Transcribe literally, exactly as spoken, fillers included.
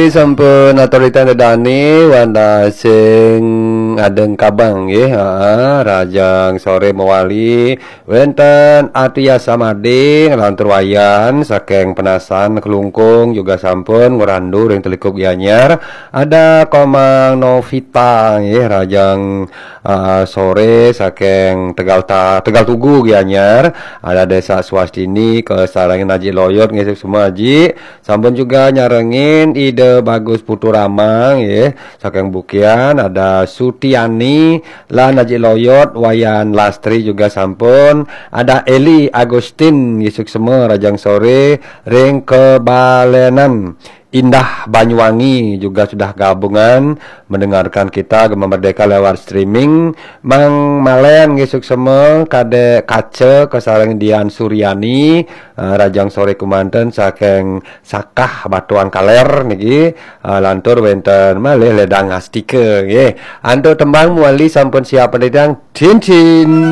Sampun atur titah Ida dané wantah sing adéng kabang nggih. Heeh, rahajeng soré mawali wénten Atia Samadé nglantur Wayan saking Penasan Klungkung juga sampun ngrandu ring Telikup Gianyar. Ada Komang Novita nggih, rahajeng ah, soré saking Tegal Ta-, Tegal Tugu Gianyar. Ada Désa Swastini kasarengin Aji Loyot nggih, suksma Aji. Sampun juga nyarengin Ida Bagus Putu Rama nggih, saking Bukian, ada Sutiani lan Aji Loyot, Wayan Lastri juga sampun, ada Eli Agustin nggih, suksma rahajeng soré ring Kebalenan. Indah Banyuwangi juga sudah gabungan mendengarkan kita Gema Merdeka lewat streaming. Mang Malen nggih, suksma, Kadék Kaca kasareng Dian Suryani, eh, rahajeng soré kémanten saking Sakah Batuan Kaler niki, eh, lantur wénten malih Ledang Astika nggih. Antuk tembang mawali sampun siap pendidang. Cincin.